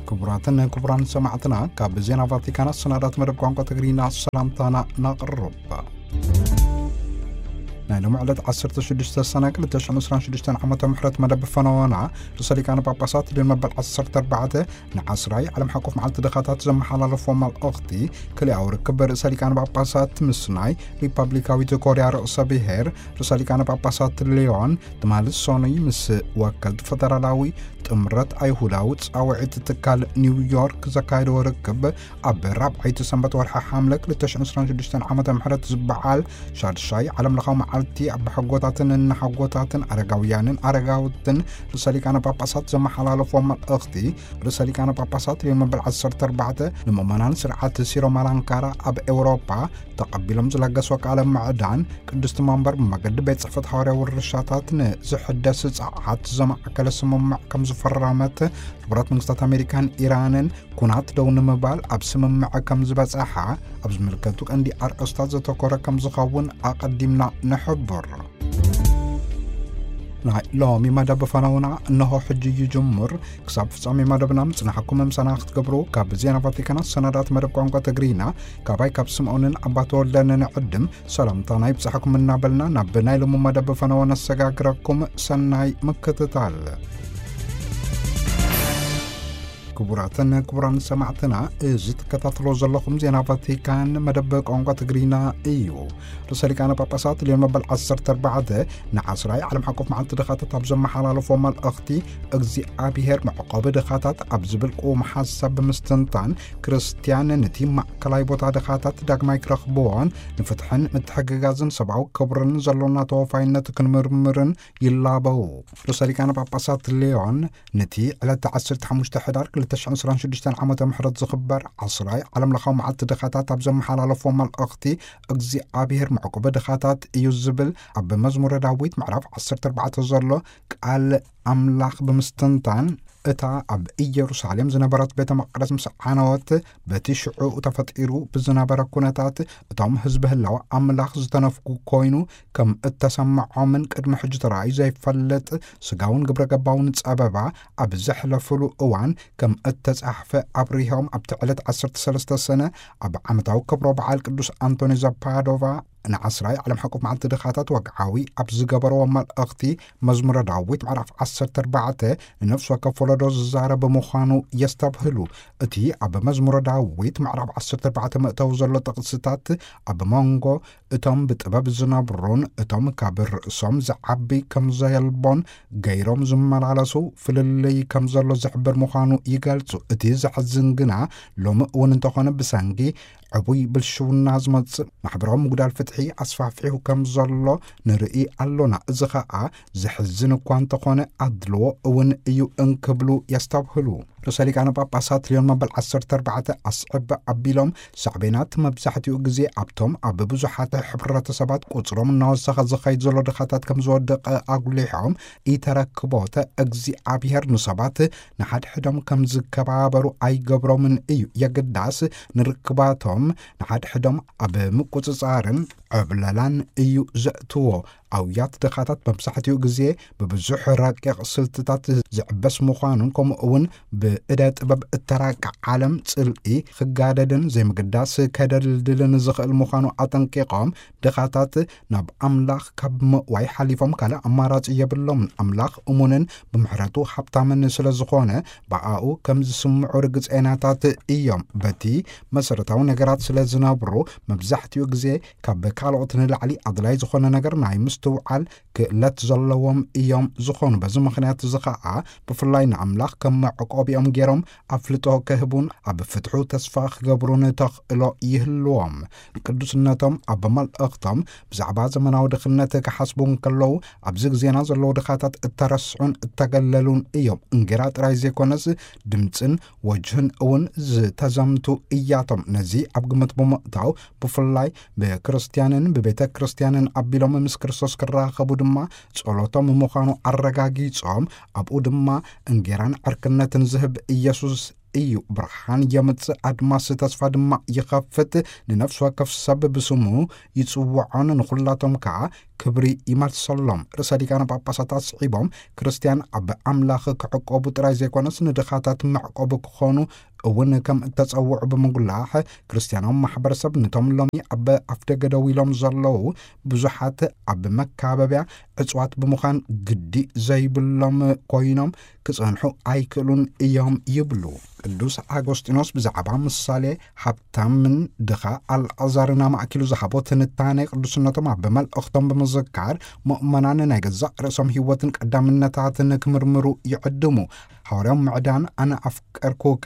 ክቡራትን ክቡራን ሰማዕትና፣ ካብ ዜና ቫቲካን ኣሰናዳት መደብ ቋንቋ ትግርኛ ሰላምታና ናቕርብ። ናይ ሎሚ ዕለት ዓሰርተ ሽዱሽተ ሰነ ክልተ ሽሕን ዕስራን ሽዱሽተን ዓመተ ምሕረት መደብ ፈነወና፣ ርእሰ ሊቃነ ጳጳሳት ሊዮን መበል ዓሰርተ ኣርባዕተ ንዓስራይ ዓለም ሓቆፍ መዓልቲ ድኻታት ዘመሓላለፎ መልእኽቲ፣ ክልኣዊ ርክብ ርእሰ ሊቃነ ጳጳሳት ምስ ናይ ሪፐብሊካዊት ኮርያ ርእሰ ብሔር ርእሰ ሊቃነ ጳጳሳት ሊዮን ትማሊ ሰኑይ ምስ ወከልቲ ፈደራላዊ ጥምረት ኣይሁዳዊ ጻውዒት ትካል ኒውዮርክ ዘካየደዎ ርክብ፣ ኣብ ራብዓይቲ ሰንበት ወርሒ ሓምለ ክልተ ሽሕን ዕስራን ሽዱሽተን ዓመተ ምሕረት ዝበዓል ሻድሻይ ዓለምለኻዊ መዓልቲ ኣቦሓጎታትን እናሓጎታትን ኣረጋውያንን ኣረጋውትን ርእሰ ሊቃነ ጳጳሳት ዘመሓላለፎ መልእኽቲ፣ ርእሰ ሊቃነ ጳጳሳት ሊዮን መበል ዓሰርተ ኣርባዕተ ንምእመናን ስርዓት ሲሮ ማላንካራ ኣብ ኤውሮጳ ተቐቢሎም ዝለገስዎ ቃለ ምዕዳን፣ ቅድስቲ መንበር ብመገዲ ቤት ጽሕፈት ሓዋርያዊ ውርሻታት ንዝሕደስ ጸዓት ዘማእከለ ስምምዕ ከም ዝፈረመት፣ ሕቡራት መንግስታት ኣሜሪካን ኢራንን ኩናት ደው ንምባል ኣብ ስምምዕ ከም ዝበጽሓ፣ ኣብ ዝምልከቱ ቀንዲ ኣርእስታት ዘተኮረ ከም ዝኸውን ኣቐዲምና ንሕብር። ናይ ሎሚ መደብ ፈነውና እነሆ ሕጂ ይጅምር። ክሳብ ፍጻሜ መደብና ምጽናሕኩም ምሳና ክትገብሩ ካብ ዜና ቫቲካን ኣሰናዳት መደብ ቋንቋ ትግርኛ፣ ካባይ ካብ ስምዖንን ኣባ ተወልደን ንዕድም ሰላምታና ይብጻሕኩም እናበልና፣ ናብ ናይ ሎሚ መደብ ፈነወ ነሰጋግረኩም። ሰናይ ምክትታል። ክቡራትን ክቡራን ሰማዕትና፣ እዚ ትከታተሎ ዘለኹም ዜና ቫቲካን መደብ ቋንቋ ትግርኛ እዩ። ርእሰ ሊቃነ ጳጳሳት ሊዮን መበል ዓሰርተ ኣርባዕተ ንዓስራይ ዓለም ሓቆፍ መዓልቲ ድኻታት ኣብ ዘመሓላለፎ መልእኽቲ፣ እግዚኣብሔር መዕቆቢ ድኻታት ኣብ ዝብል ቅዉም ሓሳብ ብምስትንታን፣ ክርስትያን ነቲ ማእከላይ ቦታ ድኻታት ዳግማይ ክረኽብዎን ንፍትሕን ምትሕግጋዝን ሰብኣዊ ክብርን ዘሎና ተወፋይነት ክንምርምርን ይላበው። ርእሰ ሊቃነ ጳጳሳት ሊዮን ነቲ ዕለት ዓሰርተ ሓሙሽተ ሕዳር ክልተ ሽሕን ዕስራን ሽዱሽተን ዓመተ ምሕረት ዝኽበር ዓስራይ ዓለምለኻዊ መዓልቲ ድኻታት ኣብ ዘመሓላለፎ መልእኽቲ፣ እግዚኣብሔር መዕቆቢ ድኻታት እዩ ዝብል ኣብ መዝሙረ ዳዊት ምዕራፍ ዓሰርተ ኣርባዕተ ዘሎ ቃል ኣምላኽ ብምስትንታን፣ እታ ኣብ ኢየሩሳሌም ዝነበረት ቤተ መቕደስ ምስ ዓነወት፣ በቲ ሽዑ ተፈጢሩ ብዝነበረ ኩነታት፣ እቶም ህዝቢ ህላው ኣምላኽ ዝተነፍጉ ኮይኑ ከም እተሰምዖምን ቅድሚ ሕጂ ተራእዩ ዘይፈልጥ ስጋውን ግብረ ገባውን ጸበባ ኣብ ዘሕለፉሉ እዋን ከም እተጻሕፈ ኣብሪሆም፣ ኣብቲ ዕለት ዓሰርተ ሰለስተ ሰነ ኣብ ዓመታዊ ክብረ በዓል ቅዱስ ኣንቶኒ ዘፓዶቫ ንዓስራይ ዓለም ሓቆፍ መዓልቲ ድኻታት ወግዓዊ ኣብ ዝገበርዎ መልእኽቲ፣ መዝሙረ ዳዊት ምዕራፍ ዓሰርተ ኣርባዕተ ንነፍሲ ወከፍ ወለዶ ዝዛረብ ምዃኑ የስተብህሉ። እቲ ኣብ መዝሙረ ዳዊት ምዕራፍ ዓሰርተ ኣርባዕተ መእተዊ ዘሎ ጥቕስታት፣ ኣብ መንጎ እቶም ብጥበብ ዝነብሩን እቶም ካብ ርእሶም ዝዓቢ ከም ዘየልቦን ገይሮም ዝመላለሱ ፍልልይ ከም ዘሎ ዝሕብር ምዃኑ ይገልጹ። እቲ ዘሕዝን ግና፣ ሎሚ እውን እንተኾነ ብሰንኪ ዕቡይ ብልሽውና ዝመጽእ ማሕበራዊ ምጉዳል ፍትሒ ኣስፋሕፊሑ ከም ዘሎ ንርኢ ኣሎና። እዚ ኸኣ ዘሕዝን እኳ እንተኾነ፣ ኣድልዎ እውን እዩ እንክብሉ የስተብህሉ። ርእሰ ሊቃነ ጳጳሳት ሊዮን መበል ዓሰርተ ኣርባዕተ ኣስዕብ ኣቢሎም፣ ሳዕቤናት መብዛሕትኡ ግዜ ኣብቶም ኣብ ብዙሓት ሕብረተሰባት ቁጽሮም እናወሰኸ ዝኸይድ ዘሎ ድኻታት ከም ዝወድቕ ኣጉሊሖም፣ ኢተረክቦተ እግዚኣብሔር ንሰባት ንሓድሕዶም ከም ዝከባበሩ ኣይገብሮምን እዩ። የግዳስ ንርክባቶም ንሓድሕዶም ኣብ ምቁጽጻርን ዕብለላን እዩ ዘእትዎ። ኣውያት ድኻታት መብዛሕትኡ ግዜ ብብዙሕ ረቂቕ ስልትታት ዝዕበስ ምዃኑን፣ ከምኡ እውን ብእደ ጥበብ እተራቀ ዓለም ጽልኢ ክጋደድን ዘይምግዳስ ከደልድልን ዝኽእል ምዃኑ ኣጠንቂቖም፣ ድኻታት ናብ ኣምላኽ ካብ ምእዋይ ሓሊፎም ካልእ ኣማራጺ የብሎምን። ኣምላኽ እሙንን ብምሕረቱ ሃብታምን ስለ ዝኾነ፣ ብኣኡ ከም ዝስምዑ ርግጸናታት እዮም። በቲ መሰረታዊ ነገራት ስለ ዝነብሩ፣ መብዛሕትኡ ግዜ ካብ ካልኦት ንላዕሊ ኣድላይ ዝኾነ ነገር ናይ ምስትውዓል ክእለት ዘለዎም እዮም ዝኾኑ። በዚ ምኽንያት እዚ ኸኣ፣ ብፍላይ ንኣምላኽ ከም መዕቆቢኦም ገይሮም ኣፍልጦ ክህቡን ኣብ ፍትሑ ተስፋ ክገብሩን ተኽእሎ ይህልዎም። ቅዱስነቶም ኣብ መልእኽቶም ብዛዕባ ዘመናዊ ድኽነት ክሓስቡ እንከለዉ፣ ኣብዚ ግዜና ዘለዉ ድኻታት እተረስዑን እተገለሉን እዮም። እንጌራ ጥራይ ዘይኮነስ፣ ድምጽን ወጅህን እውን ዝተዘምቱ እያቶም። ነዚ ኣብ ግምት ብምእታው፣ ብፍላይ ብክርስትያንን ብቤተ ክርስቲያንን ኣቢሎም ምስ ክርስቶስ ክራኸቡ ድማ ጸሎቶም ምዃኑ ኣረጋጊጾም፣ ኣብኡ ድማ እንጌራን ዕርክነትን ዝህብ ኢየሱስ እዩ። ብርሃን የምጽእ፣ ኣድማስ ተስፋ ድማ ይኸፍት። ንነፍሲ ወከፍ ሰብ ብስሙ ይጽውዖን ንኹላቶም ከኣ ክብሪ ይመልሰሎም። ርእሰ ሊቃነ ጳጳሳት ኣስዒቦም፣ ክርስትያን ኣብ ኣምላኽ ክዕቆቡ ጥራይ ዘይኮነስ፣ ንድኻታት መዕቆቢ ክኾኑ እውን ከም እተጸውዑ ብምጉላሕ፣ ክርስትያናዊ ማሕበረሰብ ነቶም ሎሚ ኣብ ኣፍደገ ደው ኢሎም ዘለዉ ብዙሓት ኣብ መካበብያ ዕጽዋት ብምዃን ግዲ ዘይብሎም ኮይኖም ክጸንሑ ኣይክእሉን እዮም ይብሉ። ቅዱስ ኣጎስጢኖስ ብዛዕባ ምሳሌ ሃብታምን ድኻ ኣልዓዛርን ኣማእኪሉ ዝሃቦ ትንታኔ ቅዱስነቶም ኣብ መልእኽቶም ብምዝካር፣ ምእመናን ናይ ገዛእ ርእሶም ህይወትን ቀዳምነታትን ክምርምሩ ይዕድሙ። ሃዋርያዊ ምዕዳን ኣነ ኣፍቀርኩከ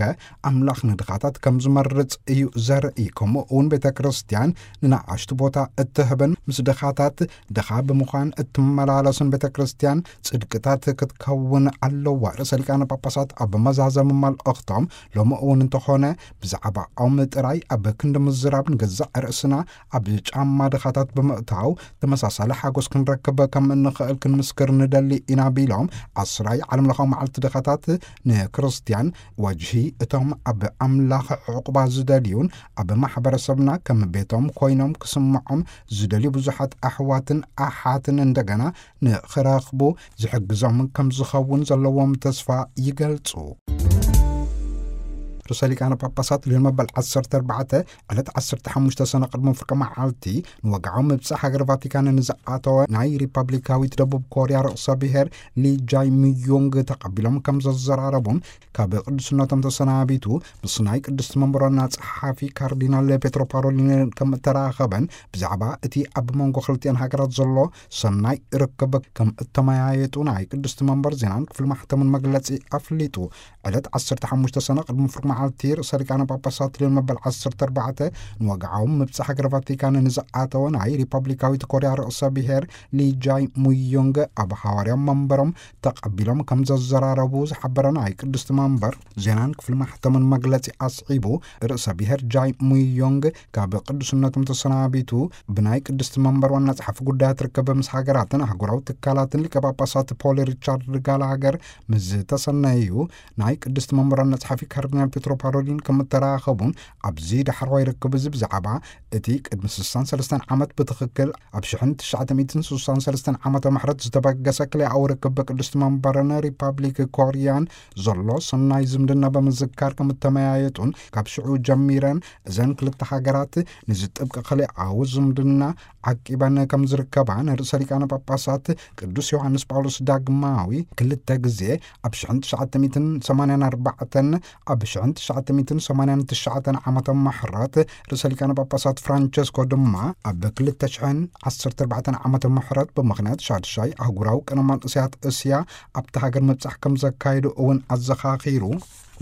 ኣምላኽ ንድኻታት ከም ዝመርጽ እዩ ዘርኢ፣ ከምኡ እውን ቤተ ክርስቲያን ንነኣሽቱ ቦታ እትህብን ምስ ድኻታት ድኻ ብምዃን እትመላለስን ቤተ ክርስቲያን ጽድቅታት ክትከውን ኣለዋ። ርእሰ ሊቃነ ጳጳሳት ኣብ መዛዘሚ መልእኽቶም፣ ሎሚ እውን እንተኾነ ብዛዕባኦም ጥራይ ኣብ ክንዲ ምዝራብ፣ ንገዛእ ርእስና ኣብ ጫማ ድኻታት ብምእታው ተመሳሳሊ ሓጎስ ክንረክብ ከም እንኽእል ክንምስክር ንደሊ ኢና ቢሎም፣ ዓስራይ ዓለም ለኻዊ መዓልቲ ድኻታት ንክርስቲያን ወጅሂ እቶም ኣብ ኣምላኽ ዕቑባ ዝደልዩን ኣብ ማሕበረሰብና ከም ቤቶም ኮይኖም ክስምዖም ዝደልዩ ብዙሓት ኣሕዋትን ኣሓትን እንደገና ንኽረኽቡ ዝሕግዞም ከም ዝኸውን ዘለዎም ተስፋ ይገልጹ። ርእሰ ሊቃነ ጳጳሳት ሊዮን መበል ዓሰርተ ኣርባዕተ ዕለት ዓሰርተ ሓሙሽተ ሰነ ቅድሚ ፍርቂ መዓልቲ ንወግዓዊ ምብጻሕ ሃገር ቫቲካን ንዝኣተወ ናይ ሪፐብሊካዊት ደቡብ ኮርያ ርእሰ ብሔር ሊ ጃይ ሚዮንግ ተቐቢሎም ከም ዘዘራረቡን ካብ ቅዱስነቶም ተሰናቢቱ ምስ ናይ ቅድስቲ መንበር ዋና ጸሓፊ ካርዲናል ፔትሮ ፓሮሊን ከም እተራኸበን ብዛዕባ እቲ ኣብ መንጎ ክልቲኣን ሃገራት ዘሎ ሰናይ ርክብ ከም እተመያየጡ ናይ ቅድስቲ መንበር ዜናን ክፍሊ ማሕተምን መግለጺ ኣፍሊጡ። ዕለት ዓሰርተ ሓሙሽተ ሰነ ቅድሚ ፍርቂ መዓልቲ ርእሰ ሊቃነ ጳጳሳት ሊዮን መበል ዓሰርተ ኣርባዕተ ንወግዓዊ ምብጻሕ ሃገር ቫቲካን ንዝኣተወ ናይ ሪፐብሊካዊት ኮርያ ርእሰ ብሔር ሊ ጃይ ሙዮንግ ኣብ ሃዋርያዊ መንበሮም ተቐቢሎም ከም ዘዘራረቡ ዝሓበረ ናይ ቅድስቲ መንበር ዜናን ክፍሊ ማሕተምን መግለጺ ኣስዒቡ፣ ርእሰ ብሔር ጃይ ሙዮንግ ካብ ቅዱስነቶም ተሰናቢቱ ብናይ ቅድስቲ መንበር ዋና ጸሓፊ ጉዳያት ርክብ ምስ ሃገራትን ኣህጉራዊ ትካላትን ሊቀ ጳጳሳት ፖል ሪቻርድ ጋላሃገር ምስ ዝተሰነዩ ናይ ቅድስቲ መንበር ዋና ጸሓፊ ካርዲናል ፔትሮ ፓሮሊን ከም እተራኸቡን ኣብዚ ዳሕረዋይ ርክብ እዚ ብዛዕባ እቲ ቅድሚ ስሳን ሰለስተን ዓመት ብትኽክል ኣብ ሽሕን ትሽዓተ ሚእትን ስሳን ሰለስተን ዓመተ ምሕረት ዝተበገሰ ክልኣዊ ርክብ ቅድስቲ መንበርን ሪፐብሊክ ኮርያን ዘሎ ሰናይ ዝምድና ብምዝካር ከም እተመያየጡን ካብ ሽዑ ጀሚረን እዘን ክልተ ሃገራት ንዝጥብቅ ክልኣዊ ዝምድና ዓቂበን ከም ዝርከባ ንርእሰ ሊቃነ ጳጳሳት ቅዱስ ዮሃንስ ጳውሎስ ዳግማዊ ክልተ ግዜ ኣብ ሽሕን ትሽዓተ ሚእትን ሰማንያን ኣርባዕተን ኣብ ሽሕን ትሽዓተ ሚእትን ሰማንያን ትሽዓተን ዓመተ ምሕረት ርእሰ ሊቃነ ጳጳሳት ፍራንቸስኮ ድማ ኣብ ክልተ ሽሕን ዓሰርተ ኣርባዕተን ዓመተ ምሕረት ብምኽንያት ሻድሻይ ኣህጉራዊ ቅነ መንእሰያት እስያ ኣብቲ ሃገር ምብጻሕ ከም ዘካየዱ እውን ኣዘኻኺሩ።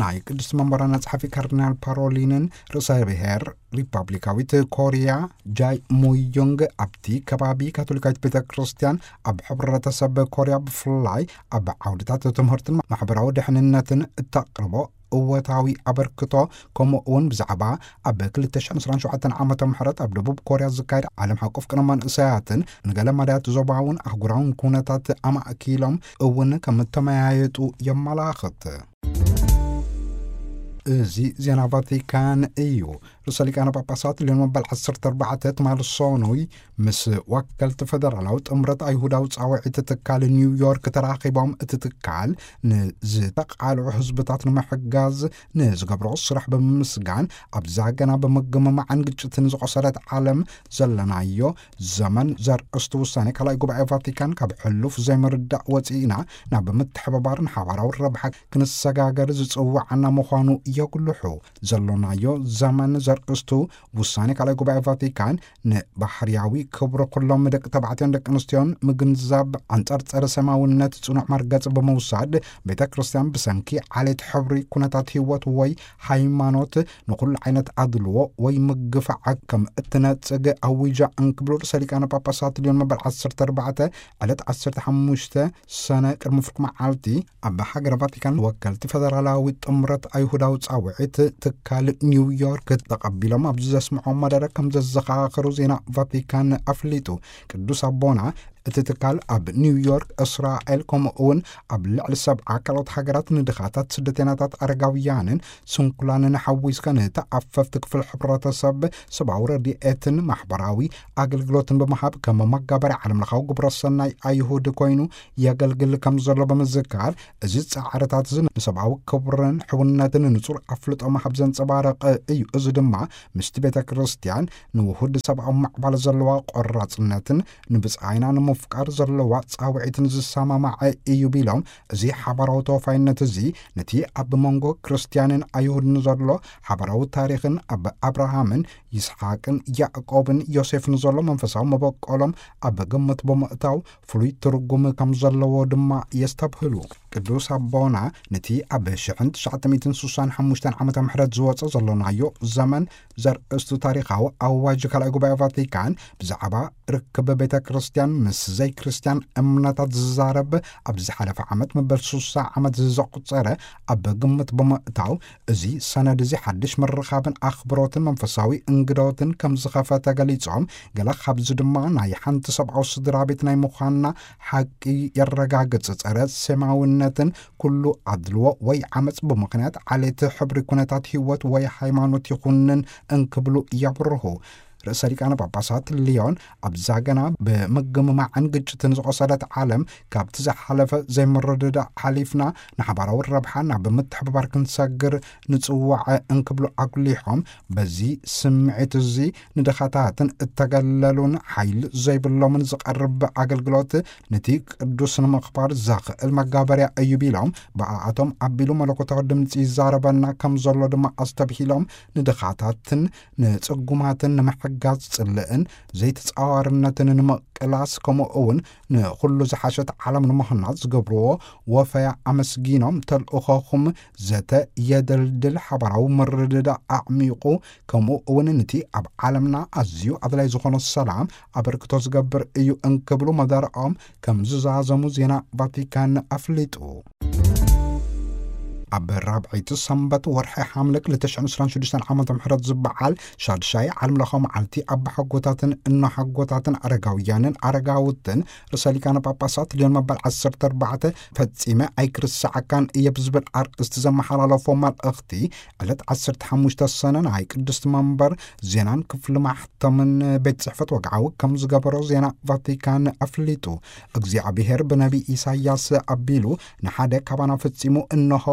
ናይ ቅድስቲ መንበር ዋና ጸሓፊ ካርዲናል ፓሮሊንን ርእሰ ብሔር ሪፐብሊካዊት ኮርያ ጃይ ሙዮንግ ኣብቲ ከባቢ ካቶሊካዊት ቤተ ክርስቲያን ኣብ ሕብረተሰብ ኮርያ ብፍላይ ኣብ ዓውድታት ትምህርትን ማሕበራዊ ድሕንነትን እተቕርቦ እወታዊ ኣበርክቶ፣ ከምኡ እውን ብዛዕባ ኣብ ክልተ ሽሕን ዕስራን ሸውዓተን ዓመተ ምሕረት ኣብ ደቡብ ኮርያ ዝካየድ ዓለም ሓቆፍ ቅነ መንእሰያትን ንገለ መዳያት ዞባውን ኣህጉራውን ኩነታት ኣማእኪሎም እውን ከም እተመያየጡ የመላኽት። እዚ ዜና ቫቲካን እዩ። ርእሰ ሊቃነ ጳጳሳት ሊዮን መበል ዓሰርተ ኣርባዕተ ትማሊ ሰኑይ ምስ ወከልቲ ፈደራላዊ ጥምረት ኣይሁዳዊ ጻውዒት ትካል ኒውዮርክ ተራኺቦም፣ እቲ ትካል ንዝተቓልዑ ህዝብታት ንምሕጋዝ ንዝገብሮ ስራሕ ብምምስጋን፣ ኣብዛ ገና ብምግምማዕን ግጭትን ዝቖሰለት ዓለም ዘለናዮ ዘመን ዘርእስቱ ውሳኔ ካልኣይ ጉባኤ ቫቲካን ካብ ሕሉፍ ዘይምርዳእ ወፂእና ናብ ምትሕብባርን ሓባራዊ ረብሓ ክንሰጋገር ዝፅውዓና ምዃኑ የጉልሑ። ዘሎናዮ ዘመን ዘርእስቱ ውሳኔ ካልኣይ ጉባኤ ቫቲካን ንባህርያዊ ክብሪ ኩሎም ደቂ ተባዕትዮን ደቂ ኣንስትዮን ምግንዛብ ኣንጻር ጸረ ሰማውነት ጽኑዕ መርገጽ ብምውሳድ፣ ቤተ ክርስቲያን ብሰንኪ ዓሌት፣ ሕብሪ፣ ኩነታት ህይወት ወይ ሃይማኖት ንኹሉ ዓይነት ኣድልዎ ወይ ምግፋዕ ከም እትነጽግ ኣዊጃ እንክብሉ ርእሰ ሊቃነ ጳጳሳት ሊዮን መበል ዓሰርተ ኣርባዕተ ዕለት ዓሰርተ ሓሙሽተ ሰነ ቅድሚ ፍርቂ መዓልቲ ኣብ ሃገረ ቫቲካን ወከልቲ ፈደራላዊ ጥምረት ኣይሁዳዊ ጻውዒት ትካል ኒውዮርክ ተቐቢሎም ኣብ ዘስምዖ መደረ ከም ዘዘኻኸሩ ዜና ቫቲካን ኣፍሊጡ። ቅዱስ ኣቦና እቲ ትካል ኣብ ኒውዮርክ፣ እስራኤል፣ ከምኡ እውን ኣብ ልዕሊ ሰብዓ ካልኦት ሃገራት ንድኻታት፣ ስደተኛታት፣ ኣረጋውያንን ስንኩላንን ሓዊስካ ንተኣፈፍቲ ክፍል ሕብረተሰብ ሰብኣዊ ረድኤትን ማሕበራዊ ኣገልግሎትን ብምሃብ ከም መጋበርያ ዓለምለኻዊ ግብረ ሰናይ ኣይሁድ ኮይኑ የገልግል ከም ዘሎ ብምዝካር፣ እዚ ጻዕርታት እዚ ንሰብኣዊ ክብርን ሕውነትን ንጹር ኣፍልጦ ምሃብ ዘንጸባረቐ እዩ። እዚ ድማ ምስቲ ቤተ ክርስቲያን ንውሁድ ሰብኣዊ ማዕባል ዘለዋ ቆራጽነትን ንብጻይና ንምፍቃር ዘለዋ ጻውዒትን ዝሰማማዐ እዩ ቢሎም፣ እዚ ሓባራዊ ተወፋይነት እዚ ነቲ ኣብ መንጎ ክርስትያንን ኣይሁድን ዘሎ ሓባራዊ ታሪኽን ኣብ ኣብርሃምን ይስሓቅን ያዕቆብን ዮሴፍን ዘሎ መንፈሳዊ መበቆሎም ኣብ ግምት ብምእታው ፍሉይ ትርጉም ከም ዘለዎ ድማ የስተብህሉ። ቅዱስ ኣቦና ነቲ ኣብ ሽሕን ትሽዓተ ሚእትን ስሳን ሓሙሽተን ዓመተ ምሕረት ዝወጸ ዘሎናዮ ዘመን ዘርእስቱ ታሪኻዊ ኣዋጅ ካልኣይ ጉባኤ ቫቲካን ብዛዕባ ርክብ ቤተ ክርስቲያን ምስ ዘይክርስትያን እምነታት ዝዛረብ፣ ኣብ ዝሓለፈ ዓመት መበል ስሳ ዓመት ዘቑጸረ ኣብ ግምት ብምእታው፣ እዚ ሰነድ እዚ ሓድሽ ምርኻብን ኣኽብሮትን መንፈሳዊ እንግዶትን ከም ዝኸፈተ ገሊጾም፣ ገለ ካብዚ ድማ ናይ ሓንቲ ሰብኣዊ ስድራ ቤት ናይ ምዃንና ሓቂ የረጋግጽ፣ ጸረ ሴማውነትን ኩሉ ኣድልዎ ወይ ዓመጽ ብምኽንያት ዓሌት፣ ሕብሪ፣ ኩነታት ህይወት ወይ ሃይማኖት ይኹንን እንክብሉ የብርሁ። ርእሰ ሊቃነ ጳጳሳት ሊዮን ኣብዛ ገና ብምግምማዕን ግጭትን ዝቖሰለት ዓለም፣ ካብቲ ዝሓለፈ ዘይምርድዳእ ሓሊፍና ንሓባራዊ ረብሓ ናብ ምትሕብባር ክንሰግር ንጽዋዕ እንክብሉ ኣጉሊሖም፣ በዚ ስምዒት እዚ ንድኻታትን እተገለሉን ሓይሊ ዘይብሎምን ዝቐርብ ኣገልግሎት ነቲ ቅዱስ ንምኽባር ዘኽእል መጋበርያ እዩ ቢሎም፣ ብኣኣቶም ኣቢሉ መለኮታዊ ድምፂ ይዛረበና ከም ዘሎ ድማ ኣስተብሂሎም፣ ንድኻታትን ንጽጉማትን ንምሕጋዝ ጽልእን ዘይተጻዋርነትን ንምቅላስ፣ ከምኡ እውን ንኹሉ ዝሓሸት ዓለም ንምህናጽ ዝገብርዎ ወፈያ ኣመስጊኖም፣ ተልእኾኹም ዘተ የደልድል፣ ሓባራዊ ምርድዳእ ኣዕሚቑ፣ ከምኡ እውን ነቲ ኣብ ዓለምና ኣዝዩ ኣድላይ ዝኾነ ሰላም ኣበርክቶ ዝገብር እዩ እንክብሉ መደረኦም ከም ዝዛዘሙ ዜና ቫቲካን ኣፍሊጡ። ኣብ ራብዐይቲ ሰንበት ወርሒ ሓምለ ክልተ ሽሕን ዕስራን ሽዱሽተን ዓመተ ምሕረት ዝበዓል ሻድሻይ ዓለምለኻዊ መዓልቲ ኣባሓጎታትን እኖሓጎታትን ኣረጋውያንን ኣረጋውትን ርእሰ ሊቃነ ጳጳሳት ልዮን መበል ዓሰርተ ኣርባዕተ ፈጺመ ኣይክርስዓካን እየ ብዝብል ኣርእስቲ ዘመሓላለፎ መልእኽቲ፣ ዕለት ዓሰርተ ሓሙሽተ ሰነ ናይ ቅድስቲ መንበር ዜናን ክፍሊ ማሕተምን ቤት ጽሕፈት ወግዓዊ ከም ዝገበሮ ዜና ቫቲካን ኣፍሊጡ። እግዚኣብሔር ብነቢ ኢሳይያስ ኣቢሉ ንሓደ ካባና ፈጺሙ፣ እንሆ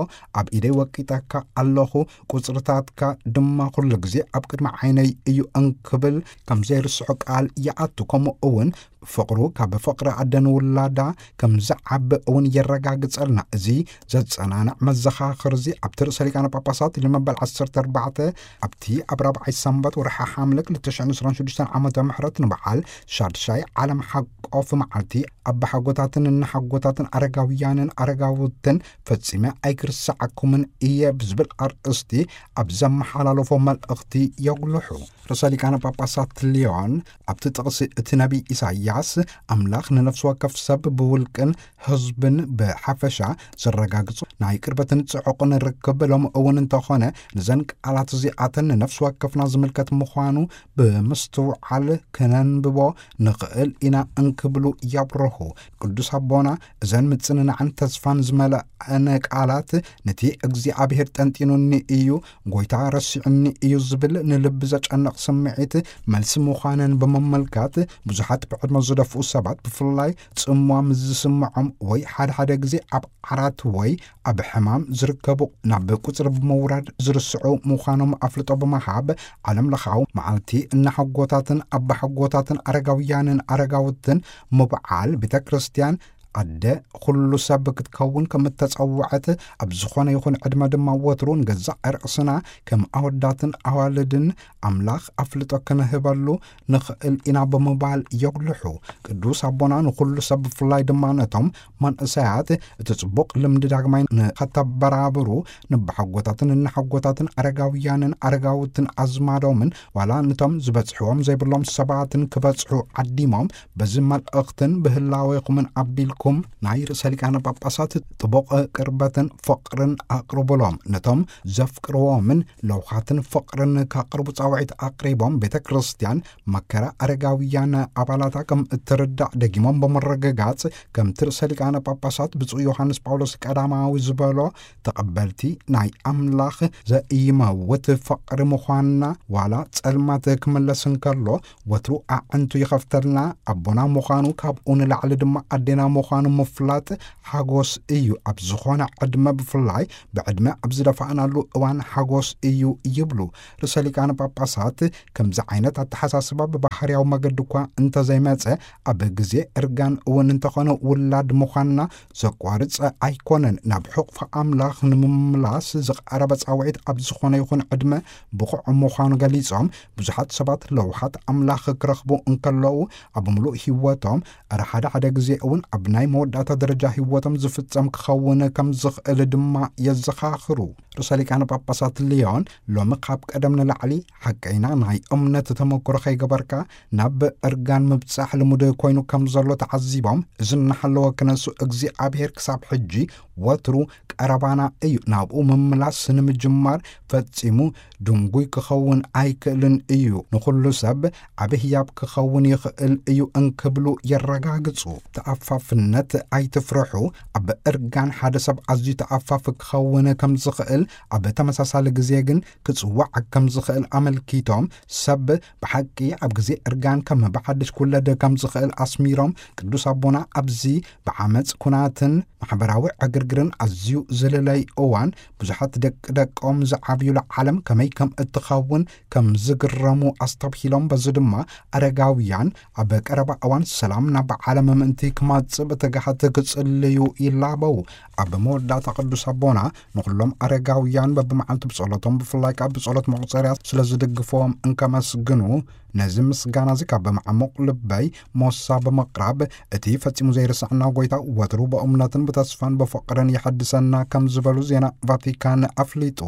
ኣብ ኢደይ ወቂጠካ ኣለኹ፣ ቁጽርታትካ ድማ ኩሉ ግዜ ኣብ ቅድሚ ዓይነይ እዩ እንክብል ከም ዘይርስዖ ቃል ይኣቱ። ከምኡ እውን ፍቕሩ ካብ ፍቕሪ ኣደ ንውላዳ ከም ዝዓቢ እውን የረጋግጸልና። እዚ ዘጸናንዕ መዘኻኽር እዚ ኣብቲ ርእሰ ሊቃነ ጳጳሳት ልዮን መበል ዓሰርተ ኣርባዕተ ኣብቲ ኣብ ራብዓይ ሰንበት ወርሒ ሓምለ ክልተ ሽሕን ዕስራን ሽዱሽተን ዓመተ ምሕረት ንበዓል ሻድሻይ ዓለም ሓቆፍ መዓልቲ ኣባሓጎታትን እናሓጎታትን ኣረጋውያንን ኣረጋውትን ፈጺመ ኣይክርስዓኩምን እየ ብዝብል ኣርእስቲ ኣብ ዘመሓላለፎ መልእኽቲ የጉልሑ። ርእሰ ሊቃነ ጳጳሳት ሊዮን ኣብቲ ጥቕሲ እቲ ነቢይ ኢሳይያስ፣ ኣምላኽ ንነፍሲ ወከፍ ሰብ ብውልቅን ህዝብን ብሓፈሻ ዘረጋግጹ ናይ ቅርበትን ጽዑቕን ርክብ ሎሚ እውን እንተኾነ፣ ነዘን ቃላት እዚኣተን ንነፍሲ ወከፍና ዝምልከት ምዃኑ ብምስትውዓል ክነንብቦ ንኽእል ኢና እንክብሉ የብርሁ። ቅዱስ ኣቦና እዘን ምጽንናዕን ተስፋን ዝመልኣን ቃላት፣ ነቲ እግዚኣብሔር ጠንጢኑኒ እዩ፣ ጐይታ ረሲዑኒ እዩ ዝብል ንልቢ ዘጨንቕ ስምዒት መልሲ ምዃነን ብምምልካት፣ ብዙሓት ብዕድመ ዝደፍኡ ሰባት፣ ብፍላይ ጽምዋ ምስ ዝስምዖም ወይ ሓደ ሓደ ግዜ ኣብ ዓራት ወይ ኣብ ሕማም ዝርከቡ፣ ናብ ቁጽሪ ብምውራድ ዝርስዑ ምዃኖም ኣፍልጦ ብምሃብ፣ ዓለም ለኻዊ መዓልቲ እናሓጎታትን ኣባሓጎታትን ኣረጋውያንን ኣረጋውትን ምብዓል ቤተ ክርስቲያን ኣደ ኩሉ ሰብ ክትከውን ከም እተጸውዐት፣ ኣብ ዝኾነ ይኹን ዕድመ ድማ ወትሩ ንገዛእ ርእስና ከም ኣወዳትን ኣዋልድን ኣምላኽ ኣፍልጦ ክንህበሉ ንኽእል ኢና ብምባል የጉልሑ። ቅዱስ ኣቦና ንኹሉ ሰብ ብፍላይ ድማ ነቶም መንእሰያት እቲ ጽቡቕ ልምዲ ዳግማይ ንኸተበራብሩ፣ ንበሓጎታትን እናሓጎታትን ኣረጋውያንን ኣረጋውትን ኣዝማዶምን ዋላ ነቶም ዝበጽሕዎም ዘይብሎም ሰባትን ክበጽሑ ዓዲሞም፣ በዚ መልእኽትን ብህላዌኹምን ኣቢልኩ ንስኹም ናይ ርእሰ ሊቃነ ጳጳሳት ጥቡቕ ቅርበትን ፍቕርን ኣቕርቡሎም። ነቶም ዘፍቅርዎምን ለውሃትን ፍቕርን ከቕርቡ ጻውዒት ኣቕሪቦም፣ ቤተ ክርስቲያን መከራ ኣረጋውያን ኣባላታ ከም እትርዳእ ደጊሞም ብምርግጋጽ፣ ከምቲ ርእሰ ሊቃነ ጳጳሳት ብፁዕ ዮሃንስ ጳውሎስ ቀዳማዊ ዝበሎ፣ ተቐበልቲ ናይ ኣምላኽ ዘኢይመውት ፍቕሪ ምዃንና፣ ዋላ ጸልማት ክምለስ እንከሎ፣ ወትሩ ኣዕንቱ ይኸፍተልና፣ ኣቦና ምዃኑ፣ ካብኡ ንላዕሊ ድማ ኣዴና ምዃኑ ምፍላጥ ሓጎስ እዩ። ኣብ ዝኾነ ዕድመ፣ ብፍላይ ብዕድመ ኣብ ዝደፋእናሉ እዋን ሓጎስ እዩ ይብሉ ርእሰ ሊቃነ ጳጳሳት። ከምዚ ዓይነት ኣተሓሳስባ ብባህርያዊ መገዲ እኳ እንተዘይመጸ፣ ኣብ ግዜ እርጋን እውን እንተኾነ ውላድ ምዃንና ዘቋርጽ ኣይኮነን። ናብ ሕቑፊ ኣምላኽ ንምምላስ ዝቐረበ ጻውዒት ኣብ ዝኾነ ይኹን ዕድመ ብቑዕ ምዃኑ ገሊጾም፣ ብዙሓት ሰባት ለውሃት ኣምላኽ ክረኽቡ እንከለዉ ኣብ ምሉእ ህይወቶም፣ ኣረ ሓደ ሓደ ግዜ እውን ኣብ ናይ መወዳእታ ደረጃ ህይወቶም ዝፍጸም ክኸውን ከም ዝኽእል ድማ የዘኻኽሩ። ርእሰ ሊቃነ ጳጳሳት ሊዮን ሎሚ ካብ ቀደም ንላዕሊ ሓቀይና ናይ እምነት ተመክሮ ከይገበርካ ናብ እርጋን ምብጻሕ ልሙድ ኮይኑ ከም ዘሎ ተዓዚቦም፣ እዚ እናሃለወ ክነሱ እግዚኣብሔር ክሳብ ሕጂ ወትሩ ቀረባና እዩ፣ ናብኡ ምምላስ ንምጅማር ፈጺሙ ድንጉይ ክኸውን ኣይክእልን እዩ፣ ንኹሉ ሰብ ዓቢ ህያብ ክኸውን ይኽእል እዩ እንክብሉ የረጋግጹ። ተኣፋፍነት ኣይትፍርሑ። ኣብ እርጋን ሓደ ሰብ ኣዝዩ ተኣፋፊ ክኸውን ከም ዝኽእል፣ ኣብ ተመሳሳሊ ግዜ ግን ክጽዋዕ ከም ዝኽእል ኣመልኪቶም፣ ሰብ ብሓቂ ኣብ ግዜ እርጋን ከም ብሓድሽ ክውለድ ከም ዝኽእል ኣስሚሮም፣ ቅዱስ ኣቦና ኣብዚ ብዓመጽ ኩናትን ማሕበራዊ ዕግርግርን ኣዝዩ ዝልለይ እዋን፣ ብዙሓት ደቂ ደቆም ዝዓብዩላ ዓለም ከመይ ከም እትኸውን ከም ዝግረሙ ኣስተብሂሎም፣ በዚ ድማ ኣረጋውያን ኣብ ቀረባ እዋን ሰላም ናብ ዓለም ምእንቲ ክማጽእ ብትግሃት ክጽልዩ ይላበው። ኣብ መወዳእታ ቅዱስ ኣቦና ንኹሎም ኣረጋውያን በብመዓልቱ ብጸሎቶም፣ ብፍላይ ከኣ ብጸሎት መቑጸርያ ስለ ዝድግፍዎም እንከመስግኑ፣ ነዚ ምስጋና እዚ ካብ መዓሙቕ ልበይ ሞሳ ብምቕራብ፣ እቲ ፈጺሙ ዘይርስዓና ጐይታ ወትሩ ብእምነትን ብተስፋን ብፍቕርን ይሐድሰና ከም ዝበሉ ዜና ቫቲካን ኣፍሊጡ።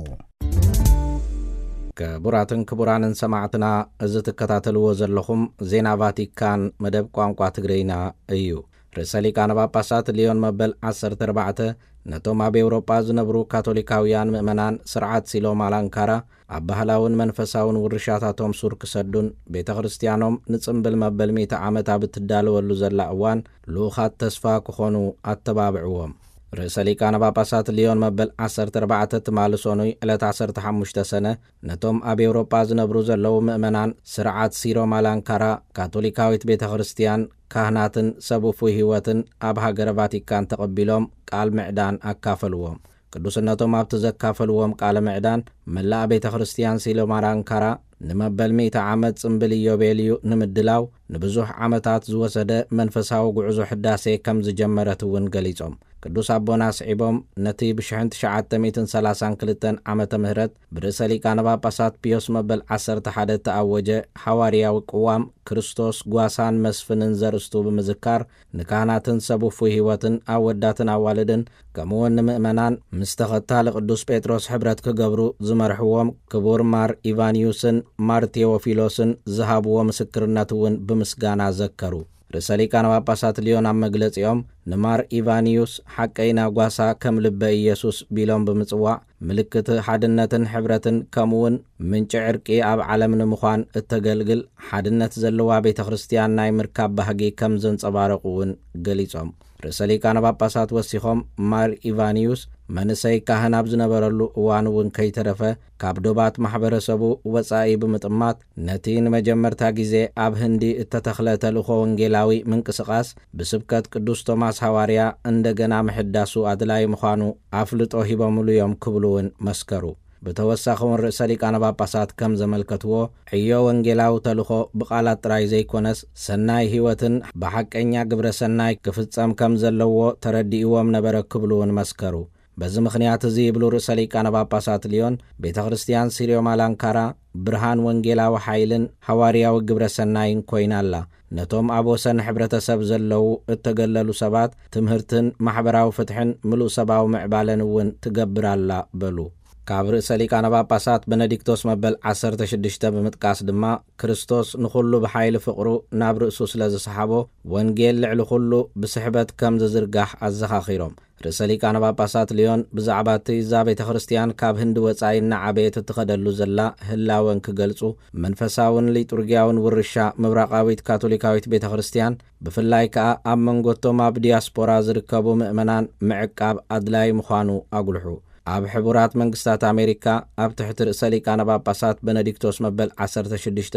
ክቡራትን ክቡራንን ሰማዕትና፣ እዚ ትከታተልዎ ዘለኹም ዜና ቫቲካን መደብ ቋንቋ ትግርይና እዩ። ርእሰ ሊቃነ ጳጳሳት ሊዮን መበል ዓሰርተ ኣርባዕተ ነቶም ኣብ ኤውሮጳ ዝነብሩ ካቶሊካውያን ምእመናን ስርዓት ሲሎ ማላንካራ ኣብ ባህላውን መንፈሳውን ውርሻታቶም ሱር ክሰዱን ቤተ ክርስቲያኖም ንጽምብል መበል ሚእቲ ዓመት ኣብ እትዳለወሉ ዘላ እዋን ልኡኻት ተስፋ ክኾኑ ኣተባብዕዎም። ርእሰ ሊቃነ ጳጳሳት ሊዮን መበል ዓሰርተ ኣርባዕተ ትማሊ ሰኑይ ዕለት ዓሰርተ ሓሙሽተ ሰነ ነቶም ኣብ ኤውሮጳ ዝነብሩ ዘለዉ ምእመናን ስርዓት ሲሮ ማላንካራ ካቶሊካዊት ቤተ ክርስቲያን ካህናትን ሰብ ውፉይ ህይወትን ኣብ ሃገረ ቫቲካን ተቐቢሎም ቃል ምዕዳን ኣካፈልዎም። ቅዱስነቶም ኣብቲ ዘካፈልዎም ቃለ ምዕዳን፣ መላእ ቤተ ክርስቲያን ሲሎ ማላንካራ ንመበል ሚእቲ ዓመት ጽምብል ኢዮቤልዩ ንምድላው ንብዙሕ ዓመታት ዝወሰደ መንፈሳዊ ጉዕዞ ሕዳሴ ከም ዝጀመረት እውን ገሊጾም። ቅዱስ ኣቦና ኣስዒቦም፣ ነቲ ብሽሕን ትሽዓተ ሚእትን ሰላሳን ክልተን ዓመተ ምህረት ብርእሰ ሊቃነ ጳጳሳት ፒዮስ መበል ዓሰርተ ሓደ እተኣወጀ ሓዋርያዊ ቅዋም ክርስቶስ ጓሳን መስፍንን ዘርእስቱ ብምዝካር፣ ንካህናትን ሰብ ውፉይ ህይወትን ኣወዳትን ኣዋልድን ከምኡውን ንምእመናን ምስ ተኸታሊ ቅዱስ ጴጥሮስ ሕብረት ክገብሩ ዝመርሕዎም ክቡር ማር ኢቫንዩስን ማር ቴዎፊሎስን ዝሃብዎ ምስክርነት እውን ብምስጋና ዘከሩ። ርእሰ ሊቃነ ጳጳሳት ሊዮን ኣብ መግለጺኦም፣ ንማር ኢቫንዩስ ሓቀይና ጓሳ ከም ልበ ኢየሱስ ቢሎም ብምጽዋዕ፣ ምልክት ሓድነትን ሕብረትን ከምኡውን ምንጪ ዕርቂ ኣብ ዓለም ንምዃን እተገልግል ሓድነት ዘለዋ ቤተ ክርስቲያን ናይ ምርካብ ባህጊ ከም ዘንጸባረቑ እውን ገሊጾም። ርእሰ ሊቃነ ጳጳሳት ወሲኾም፣ ማር ኢቫንዩስ መንእሰይ ካህን ኣብ ዝነበረሉ እዋን እውን ከይተረፈ ካብ ዶባት ማሕበረሰቡ ወጻኢ ብምጥማት፣ ነቲ ንመጀመርታ ግዜ ኣብ ህንዲ እተተኽለ ተልእኾ ወንጌላዊ ምንቅስቓስ ብስብከት ቅዱስ ቶማስ ሃዋርያ እንደገና ምሕዳሱ ኣድላዪ ምዃኑ ኣፍልጦ ሂቦምሉ እዮም ክብሉ እውን መስከሩ። ብተወሳኺ እውን ርእሰ ሊቃነ ጳጳሳት ከም ዘመልከትዎ፣ ዕዮ ወንጌላዊ ተልእኾ ብቓላት ጥራይ ዘይኮነስ፣ ሰናይ ህይወትን ብሓቀኛ ግብረ ሰናይ ክፍጸም ከም ዘለዎ ተረዲእዎም ነበረ ክብሉ እውን መስከሩ። በዚ ምኽንያት እዚ ይብሉ ርእሰ ሊቃነ ጳጳሳት ሊዮን፣ ቤተ ክርስቲያን ሲርዮ ማላንካራ ብርሃን ወንጌላዊ ሓይልን ሃዋርያዊ ግብረ ሰናይን ኮይና ኣላ። ነቶም ኣብ ወሰን ሕብረተሰብ ዘለዉ እተገለሉ ሰባት ትምህርትን ማሕበራዊ ፍትሕን ምሉእ ሰብኣዊ ምዕባለን እውን ትገብር ኣላ በሉ። ካብ ርእሰ ሊቃነ ጳጳሳት በነዲክቶስ መበል ዓሰርተ ሽዱሽተ ብምጥቃስ ድማ፣ ክርስቶስ ንኹሉ ብሓይሊ ፍቕሩ ናብ ርእሱ ስለ ዝሰሓቦ፣ ወንጌል ልዕሊ ኩሉ ብስሕበት ከም ዝዝርጋሕ ኣዘኻኺሮም። ርእሰ ሊቃነ ጳጳሳት ሊዮን ብዛዕባ እቲ እዛ ቤተ ክርስቲያን ካብ ህንዲ ወጻኢ እናዓበየት እትኸደሉ ዘላ ህላወ እንክገልጹ፣ መንፈሳውን ሊጡርጊያውን ውርሻ ምብራቓዊት ካቶሊካዊት ቤተ ክርስቲያን፣ ብፍላይ ከኣ ኣብ መንጎቶም ኣብ ዲያስፖራ ዝርከቡ ምእመናን ምዕቃብ ኣድላይ ምዃኑ ኣጉልሑ። ኣብ ሕቡራት መንግስታት ኣሜሪካ፣ ኣብ ትሕቲ ርእሰ ሊቃነ ጳጳሳት በነዲክቶስ መበል ዓሰርተ ሽዱሽተ፣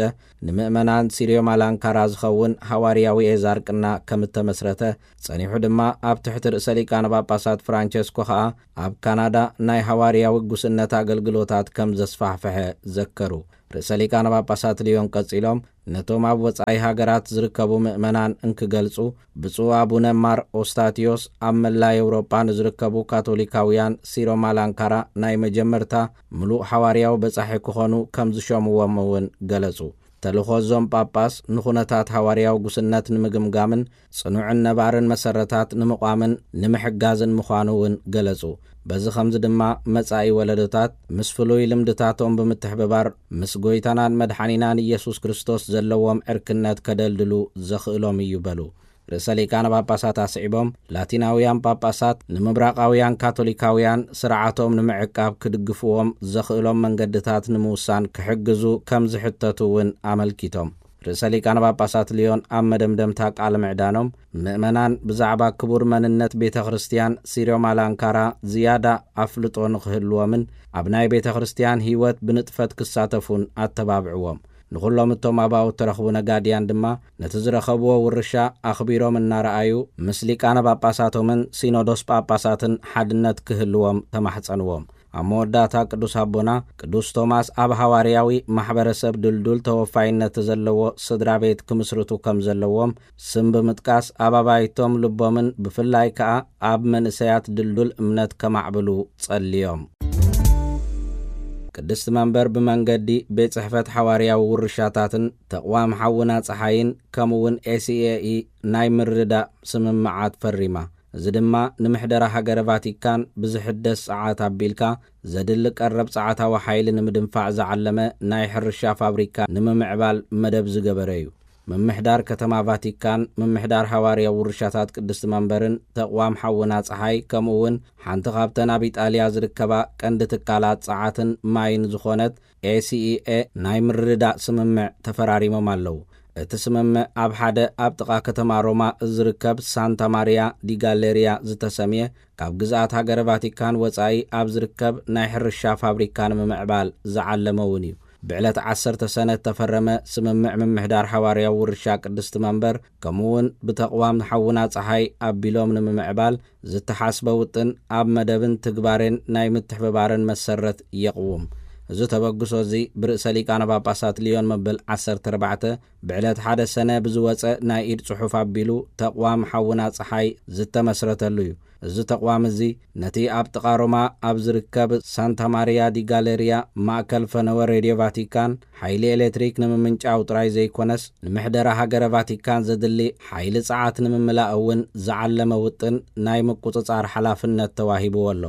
ንምእመናን ሲርዮ ማላንካራ ዝኸውን ሃዋርያዊ ኤዛርቅና ከም እተመስረተ፣ ጸኒሑ ድማ ኣብ ትሕቲ ርእሰ ሊቃነ ጳጳሳት ፍራንቸስኮ ኸኣ ኣብ ካናዳ ናይ ሃዋርያዊ ጉስነት ኣገልግሎታት ከም ዘስፋሕፍሐ ዘከሩ። ርእሰ ሊቃነ ጳጳሳት ሊዮን ቀጺሎም፣ ነቶም ኣብ ወጻኢ ሃገራት ዝርከቡ ምእመናን እንክገልጹ፣ ብፁዕ ኣቡነ ማር ኦስታቲዮስ ኣብ መላ ኤውሮጳ ንዝርከቡ ካቶሊካውያን ሲሮ ማላንካራ ናይ መጀመርታ ምሉእ ሓዋርያዊ በጻሒ ክኾኑ ከም ዝሾምዎም እውን ገለጹ። ተልእኾ እዞም ጳጳስ ንኹነታት ሃዋርያዊ ጉስነት ንምግምጋምን ጽኑዕን ነባርን መሰረታት ንምቋምን ንምሕጋዝን ምዃኑ እውን ገለጹ። በዚ ኸምዚ ድማ መጻኢ ወለዶታት ምስ ፍሉይ ልምድታቶም ብምትሕብባር ምስ ጎይታናን መድሓኒናን ኢየሱስ ክርስቶስ ዘለዎም ዕርክነት ከደልድሉ ዘኽእሎም እዩ በሉ። ርእሰ ሊቃነ ጳጳሳት ኣስዒቦም፣ ላቲናውያን ጳጳሳት ንምብራቓውያን ካቶሊካውያን ስርዓቶም ንምዕቃብ ክድግፍዎም ዘኽእሎም መንገድታት ንምውሳን ክሕግዙ ከም ዝሕተቱ እውን ኣመልኪቶም። ርእሰ ሊቃነ ጳጳሳት ሊዮን ኣብ መደምደምታ ቃለ ምዕዳኖም፣ ምእመናን ብዛዕባ ክቡር መንነት ቤተ ክርስቲያን ሲርዮ ማላንካራ ዝያዳ ኣፍልጦ ንኽህልዎምን ኣብ ናይ ቤተ ክርስቲያን ህይወት ብንጥፈት ክሳተፉን ኣተባብዕዎም። ንኹሎም እቶም ኣባኡ እተረኽቡ ነጋድያን ድማ ነቲ ዝረኸብዎ ውርሻ ኣኽቢሮም እናረኣዩ፣ ምስ ሊቃነ ጳጳሳቶምን ሲኖዶስ ጳጳሳትን ሓድነት ክህልዎም ተማሕጸንዎም። ኣብ መወዳእታ ቅዱስ ኣቦና፣ ቅዱስ ቶማስ ኣብ ሃዋርያዊ ማሕበረሰብ ድልዱል ተወፋይነት ዘለዎ ስድራ ቤት ክምስርቱ ከም ዘለዎም ስም ብምጥቃስ፣ ኣብ ኣባይቶም ልቦምን ብፍላይ ከኣ ኣብ መንእሰያት ድልዱል እምነት ከማዕብሉ ጸልዮም። ቅድስቲ መንበር ብመንገዲ ቤት ጽሕፈት ሓዋርያዊ ውርሻታትን ተቕዋም ሓውና ጸሓይን ከምኡውን ኤ ሲ ኤ ኢ ናይ ምርድዳእ ስምምዓት ፈሪማ። እዚ ድማ ንምሕደራ ሃገረ ቫቲካን ብዝሕደስ ጸዓት ኣቢልካ ዘድሊ ቀረብ ጸዓታዊ ሓይሊ ንምድንፋዕ ዝዓለመ ናይ ሕርሻ ፋብሪካ ንምምዕባል መደብ ዝገበረ እዩ። ምምሕዳር ከተማ ቫቲካን፣ ምምሕዳር ሃዋርያዊ ውርሻታት ቅድስቲ መንበርን ተቕዋም ሓውና ጸሓይ፣ ከምኡ እውን ሓንቲ ካብተን ኣብ ኢጣልያ ዝርከባ ቀንዲ ትካላት ጸዓትን ማይን ዝኾነት ኤ ሲ ኢ ኤ ናይ ምርድዳእ ስምምዕ ተፈራሪሞም ኣለዉ። እቲ ስምምዕ ኣብ ሓደ ኣብ ጥቓ ከተማ ሮማ ዝርከብ ሳንታ ማሪያ ዲ ጋሌሪያ ዝተሰምየ ካብ ግዝኣት ሃገረ ቫቲካን ወጻኢ ኣብ ዝርከብ ናይ ሕርሻ ፋብሪካ ንምምዕባል ዝዓለመ እውን እዩ። ብዕለት ዓሰርተ ሰነ እተፈረመ ስምምዕ ምምሕዳር ሓዋርያዊ ውርሻ ቅድስቲ መንበር፣ ከምኡውን ብተቕዋም ሓውና ጸሓይ ኣቢሎም ንምምዕባል ዝተሓስበ ውጥን ኣብ መደብን ትግባሬን ናይ ምትሕብባርን መሰረት የቕውም። እዚ ተበግሶ እዚ ብርእሰ ሊቃነ ጳጳሳት ሊዮን መበል ዓሰርተ ኣርባዕተ ብዕለት ሓደ ሰነ ብዝወጸ ናይ ኢድ ጽሑፍ ኣቢሉ ተቕዋም ሓውና ጸሓይ ዝተመስረተሉ እዩ። እዚ ተቕዋም እዚ ነቲ ኣብ ጥቓ ሮማ ኣብ ዝርከብ ሳንታ ማሪያ ዲ ጋሌሪያ ማእከል ፈነወ ሬድዮ ቫቲካን ሓይሊ ኤሌክትሪክ ንምምንጫው ጥራይ ዘይኮነስ፣ ንምሕደራ ሃገረ ቫቲካን ዘድሊ ሓይሊ ጸዓት ንምምላእ እውን ዝዓለመ ውጥን ናይ ምቁጽጻር ሓላፍነት ተዋሂብዎ ኣሎ።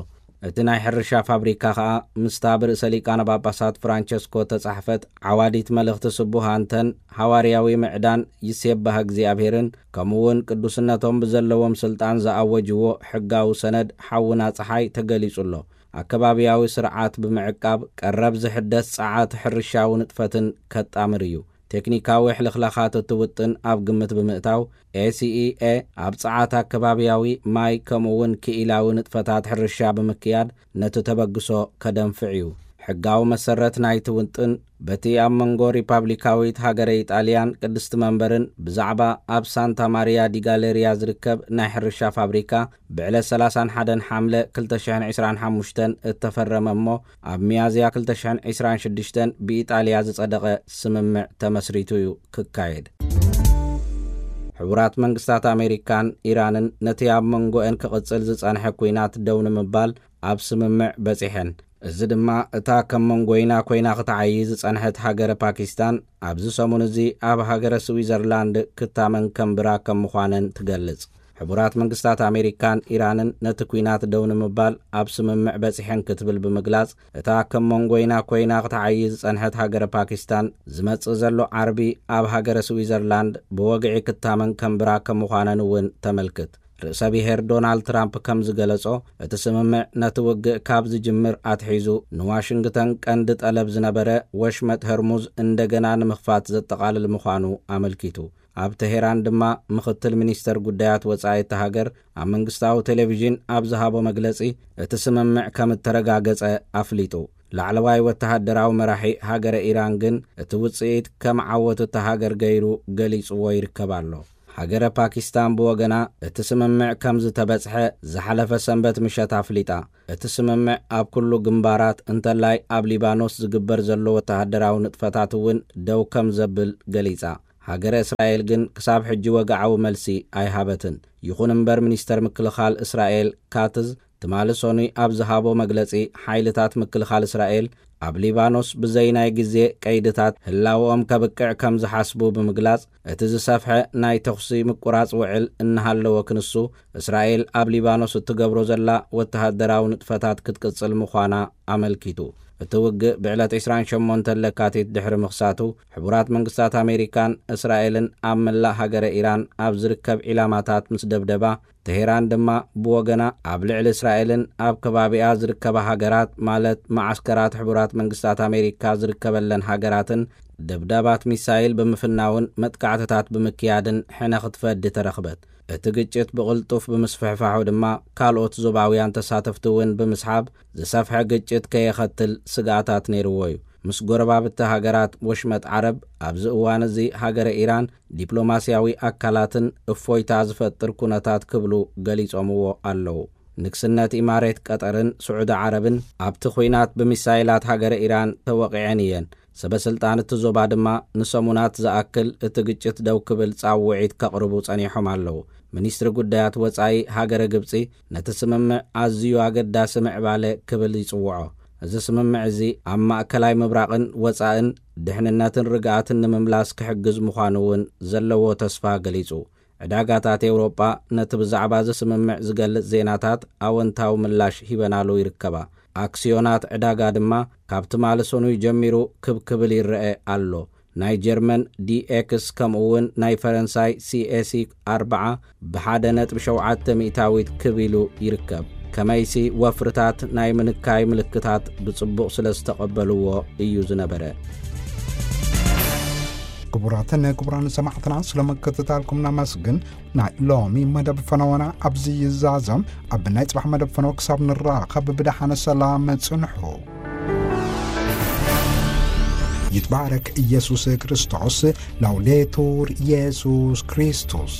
እቲ ናይ ሕርሻ ፋብሪካ ኸኣ ምስታ ብርእሰ ሊቃነ ጳጳሳት ፍራንቸስኮ እተጻሕፈት ዓዋዲት መልእኽቲ ስቡህ ኣንተን ሃዋርያዊ ምዕዳን ይሴባህ እግዚኣብሔርን፣ ከምኡውን ቅዱስነቶም ብዘለዎም ስልጣን ዝኣወጅዎ ሕጋዊ ሰነድ ሓውና ጸሓይ ተገሊጹ ኣሎ። ኣከባብያዊ ስርዓት ብምዕቃብ፣ ቀረብ ዝሕደስ ጸዓት ሕርሻዊ ንጥፈትን ከጣምር እዩ። ቴክኒካዊ ሕልኽላኻት እቲ ውጥን ኣብ ግምት ብምእታው፣ ኤ ሲ ኢ ኤ ኣብ ጸዓት ኣከባብያዊ፣ ማይ፣ ከምኡውን ክኢላዊ ንጥፈታት ሕርሻ ብምክያድ ነቲ ተበግሶ ከደንፍዕ እዩ። ሕጋዊ መሰረት ናይቲ ውጥን በቲ ኣብ መንጎ ሪፓብሊካዊት ሃገረ ኢጣልያን ቅድስቲ መንበርን ብዛዕባ ኣብ ሳንታ ማሪያ ዲ ጋሌሪያ ዝርከብ ናይ ሕርሻ ፋብሪካ ብዕለት ሰላሳን ሓደን ሓምለ ክልተ ሽሕን ዕስራን ሓሙሽተን እተፈረመ እሞ፣ ኣብ ሚያዝያ ክልተ ሽሕን ዕስራን ሽዱሽተን ብኢጣልያ ዝጸደቐ ስምምዕ ተመስሪቱ እዩ ክካየድ። ሕቡራት መንግስታት ኣሜሪካን ኢራንን ነቲ ኣብ መንጎአን ክቕጽል ዝጸንሐ ኲናት ደው ንምባል ኣብ ስምምዕ በጺሐን። እዚ ድማ እታ ከም መንጎይና ኮይና ክትዓዪ ዝጸንሐት ሃገረ ፓኪስታን ኣብዚ ሰሙን እዚ ኣብ ሃገረ ስዊዘርላንድ ክታመን ከንብራ ከም ምዃነን ትገልጽ። ሕቡራት መንግስታት ኣሜሪካን ኢራንን ነቲ ኲናት ደው ንምባል ኣብ ስምምዕ በጺሐን ክትብል ብምግላጽ፣ እታ ከም መንጎይና ኮይና ክትዓዪ ዝጸንሐት ሃገረ ፓኪስታን ዝመጽእ ዘሎ ዓርቢ ኣብ ሃገረ ስዊዘርላንድ ብወግዒ ክታመን ከንብራ ከም ምዃነን እውን ተመልክት። ርእሰ ብሔር ዶናልድ ትራምፕ ከም ዝገለጾ፣ እቲ ስምምዕ ነቲ ውግእ ካብ ዝጅምር ኣትሒዙ ንዋሽንግተን ቀንዲ ጠለብ ዝነበረ ወሽመጥ ሆርሙዝ እንደገና ንምኽፋት ዘጠቓልል ምዃኑ ኣመልኪቱ። ኣብ ተሄራን ድማ ምኽትል ሚኒስተር ጉዳያት ወጻኢ እታ ሃገር ኣብ መንግስታዊ ቴሌቪዥን ኣብ ዝሃቦ መግለጺ፣ እቲ ስምምዕ ከም እተረጋገጸ ኣፍሊጡ። ላዕለዋይ ወተሃደራዊ መራሒ ሃገረ ኢራን ግን እቲ ውጽኢት ከም ዓወት እታ ሃገር ገይሩ ገሊጽዎ ይርከብ ኣሎ። ሃገረ ፓኪስታን ብወገና፣ እቲ ስምምዕ ከም ዝተበጽሐ ዝሓለፈ ሰንበት ምሸት ኣፍሊጣ። እቲ ስምምዕ ኣብ ኩሉ ግንባራት እንተላይ ኣብ ሊባኖስ ዝግበር ዘሎ ወተሃደራዊ ንጥፈታት እውን ደው ከም ዘብል ገሊጻ። ሃገረ እስራኤል ግን ክሳብ ሕጂ ወግዓዊ መልሲ ኣይሃበትን። ይኹን እምበር፣ ሚኒስተር ምክልኻል እስራኤል ካትዝ ትማሊ ሰኑይ ኣብ ዝሃቦ መግለጺ፣ ሓይልታት ምክልኻል እስራኤል ኣብ ሊባኖስ ብዘይ ናይ ግዜ ቀይድታት ህላወኦም ከብቅዕ ከም ዝሓስቡ ብምግላጽ፣ እቲ ዝሰፍሐ ናይ ተኹሲ ምቁራጽ ውዕል እናሃለወ ክንሱ፣ እስራኤል ኣብ ሊባኖስ እትገብሮ ዘላ ወተሃደራዊ ንጥፈታት ክትቅጽል ምዃና ኣመልኪቱ። እቲ ውግእ ብዕለት ዕስራን ሸሞንተን ለካቲት ድሕሪ ምኽሳቱ፣ ሕቡራት መንግስታት ኣሜሪካን እስራኤልን ኣብ መላእ ሃገረ ኢራን ኣብ ዝርከብ ዒላማታት ምስ ደብደባ፣ ተሄራን ድማ ብወገና ኣብ ልዕሊ እስራኤልን ኣብ ከባቢኣ ዝርከባ ሃገራት፣ ማለት መዓስከራት ሕቡራት መንግስታት ኣሜሪካ ዝርከበለን ሃገራትን፣ ደብዳባት ሚሳይል ብምፍናውን መጥቃዕትታት ብምክያድን ሕነ ክትፈዲ ተረኽበት። እቲ ግጭት ብቕልጡፍ ብምስፍሕፋሑ ድማ፣ ካልኦት ዞባውያን ተሳተፍቲ እውን ብምስሓብ፣ ዝሰፍሐ ግጭት ከየኸትል ስግኣታት ነይርዎ እዩ። ምስ ጎረባብቲ ሃገራት ወሽመጥ ዓረብ ኣብዚ እዋን እዚ ሃገረ ኢራን ዲፕሎማስያዊ ኣካላትን እፎይታ ዝፈጥር ኩነታት ክብሉ ገሊጾምዎ ኣለዉ። ንግስነት ኢማሬት ቀጠርን ስዑዲ ዓረብን ኣብቲ ኲናት ብሚሳይላት ሃገረ ኢራን ተወቒዐን እየን። ሰበ ስልጣን እቲ ዞባ ድማ ንሰሙናት ዝኣክል እቲ ግጭት ደው ክብል ጻውዒት ከቕርቡ ጸኒሖም ኣለዉ። ሚኒስትሪ ጉዳያት ወጻኢ ሃገረ ግብጺ ነቲ ስምምዕ ኣዝዩ ኣገዳሲ ምዕባለ ክብል ይጽውዖ። እዚ ስምምዕ እዚ ኣብ ማእከላይ ምብራቕን ወጻእን ድሕንነትን ርግኣትን ንምምላስ ክሕግዝ ምዃኑ እውን ዘለዎ ተስፋ ገሊጹ። ዕዳጋታት ኤውሮጳ ነቲ ብዛዕባ እዚ ስምምዕ ዝገልጽ ዜናታት ኣወንታዊ ምላሽ ሂበናሉ ይርከባ። ኣክስዮናት ዕዳጋ ድማ ካብ ትማሊ ሰኑይ ጀሚሩ ክብ ክብል ይረአ ኣሎ። ናይ ጀርመን ዲ ኤክስ ከምኡ እውን ናይ ፈረንሳይ ሲ ኤ ሲ ኣርብዓ ብሓደ ነጥቢ ሸውዓተ ሚእታዊት ክብ ኢሉ ይርከብ። ከመይሲ ወፍርታት ናይ ምንካይ ምልክታት ብጽቡቕ ስለ ዝተቐበልዎ እዩ ዝነበረ። ክቡራትን ክቡራን ሰማዕትና፣ ስለ ምክትታልኩም ነመስግን። ናይ ሎሚ መደብ ፈነወና ኣብዚ ይዛዘም። ኣብ ናይ ጽባሕ መደብ ፈነወ ክሳብ ንራኸብ ብደሓነ ሰላም ጽንሑ። ይትባረክ ኢየሱስ ክርስቶስ። ላውዴቱር ኢየሱስ ክርስቶስ።